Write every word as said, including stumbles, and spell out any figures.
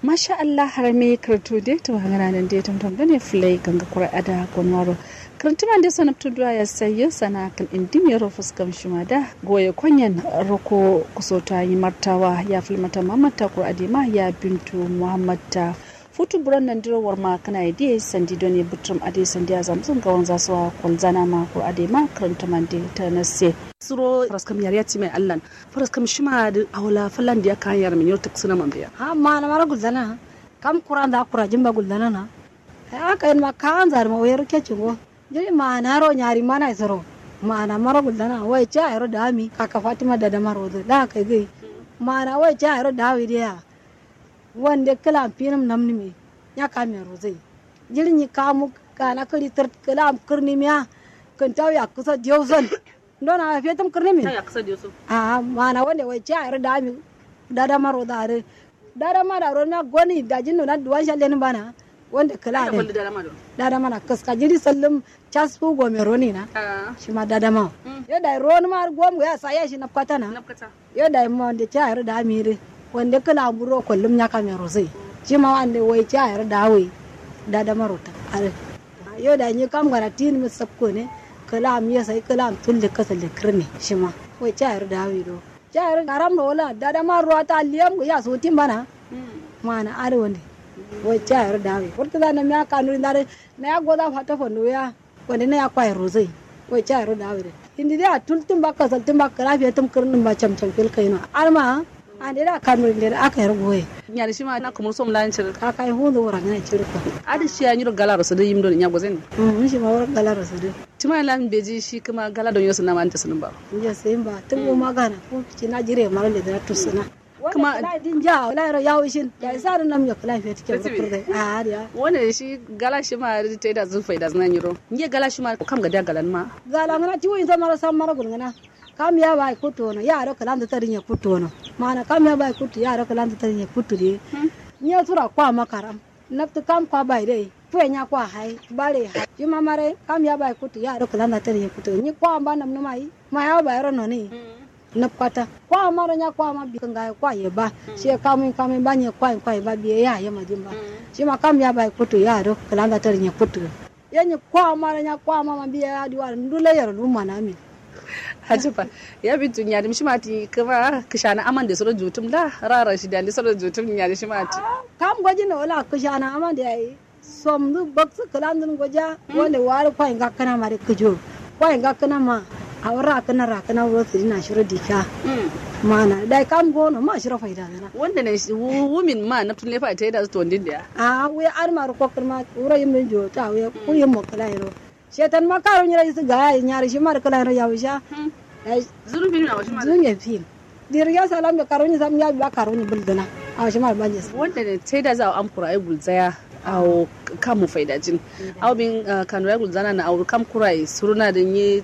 Masha allah harami kǝrǝntu de tǝmangǝna nande tamtam done fǝlai ganga kurai ada gonwaro. Kǝrǝntǝman de so nabtǝ duwa ya sai ye sana kǝl indimiyero faskam shima da goye konyen roko kusoto ayi martawa ya fǝlmata muhammad ta kura adema ya bintu muhammad ta futu buron nandiro warma kǝna ye diye sandi done bǝtǝrǝm adai sandi azamzǝ ngawanza so wa kolzana ma kura adema kǝrǝntǝman de tanasse. Suro faskam yariya timai allan faskam shima adǝ awo la fallan diya kayan yar min yau taksǝna man biya. Ha ma'ana maro gulzana ha kam kuranza kurajin ba gulzana na. Ai aka yin ma kawanza dǝ ma wai rukke cingo. Jiri ma'ana ro nyari mana isoro ma'ana maro gulzana wai ca yaro dami kaka fatima dadama rodo da kai gai. Ma'ana wai ca yaro dawi diya. Wande kǝlam finǝm namnǝmi nya kamiya rozai. Jiri nyi kamu gana kǝri tǝrt kǝlam kǝrnimiya. Kǝntau yakkǝso diyauson. Ndona fetum kǝrnimin. A'a ma'ana wande wai ca yaro dami dadama rodo adǝ. Dadama da ronmiya goni dajin nona duwan shallenin bana. Wande kǝla adǝ dadama na kǝska jiri sallum. Casfu gome ronina. Shima dadama. Yo dai ronima gom ya saya shi nafkatana. Yo dai ma wande ca yaro dami dǝ wande kǝla amburo kollum nya kamiya rozai. Shima wande wai ca yaro dawai. Dadama rota adǝ. Yo dai nyi kam gana tinǝmi sapko ne. Kǝla am yesai kǝla am tulle kasalle kǝrne shima. Wai ca yaro dawai do. Ca yaro garam no wala dadama ruwa ta liyam ya sotin bana. Ma'ana adǝ wande. Wai ca yaro dawai wurtu da namiya kanuri ndare. Naya goza fata fanduya. Wande naya kwaye rozai. Wai ca yaro dawai dǝ. Indi dai a tultǝm ba kasaltǝm ba kǝla fetǝm kǝrnǝm ba camcam fil kaino adǝma. Ande da kanuri nde aka yar goye. Nyari shima na kumur som lan ciri. Kaka yi hundu wura ngana ciri ko. Adǝ shiya nyiro galaro sǝdǝ yim done nya gozen. Shima wura galaro sǝdǝ. Tima lan beji shi kǝma gala don yosu nama anta sǝnǝm ba. Nje sǝnǝm ba tǝm bo magana ko. Cina jire maro le dǝ na tusǝna. Kǝma kǝla din ja kǝla yaro yawo ishin dai sa dǝ nam yo kǝla fetǝ ke. Wone shi gala shima dǝ taida zǝ faida zǝna nyiro nje gala shima kam gadiya galan ma. Gala ngana tiwo inza maro sam maro gulngana. Kam ya bai kuttu wono ya ado kǝlanzǝ tadǝ nye kuttu wono. Ma'ana kam ya bai kuttu ya ado kǝlanzǝ tadǝ nye kuttu dǝ ye. Nye sura kwa makaram. Nabtǝ kam kwa bai dai. Fuwe nya kwa hai bare hai shima mare kam ya bai kuttu ya ado kǝlanzǝ tadǝ nye kuttu nyi kwa mba namnǝma yi. Ma ya bai ro noni. Nabkata kwa maro nya kwa ma bi kǝngaye kwa ye ba. Shiye kamuyin kamuyin ba nye kwayin kwayin ba biye ya ye madin ba. Shima kam ya bai kuttu ya ado kǝlanzǝ tadǝ nye kuttu. Yenyi kwa mara nya kwa mama mbiya ya diwa ndu lai yaro lumma na min. Ajiba. Ya bintu nyari mishima ti kǝma kǝshana amande soro jutum la rara shi dande soro jutum nyari shima ti. Kam goji no wala kǝshana amande yayi. Somdu baksǝ kǝlandun goja. Wande wari kwai ngakkǝna mare kǝjo. Kwai ngakkǝna ma. Awo rakǝna rakǝna wuro sǝdina shiro dika. Ma'ana dai kam gono ma shiro faida gǝna. Wande ne wumin ma naftun lefa taida zǝ tondin diya. A'a wuye adǝma rǝ kokkǝr ma wuro yim dǝn jowotu a'a wuye. Kur yim mo kǝla yero. Shetan ma karo nyiro isǝ gaya nyarǝ shima dǝ kǝla yero yawu sha. Dai zurun fin awo shima dǝ zurun ye fin. Diriya salam be karo nyi sam ya biya karo nyi bǝldǝna. Awo shima dǝ banje sǝ wanda ne taida zǝ awo am kura ai gulzaya. Awo kam mu faidajin. Awo bin kanura gulzana na awo kam kura ai suruna dǝ nyi.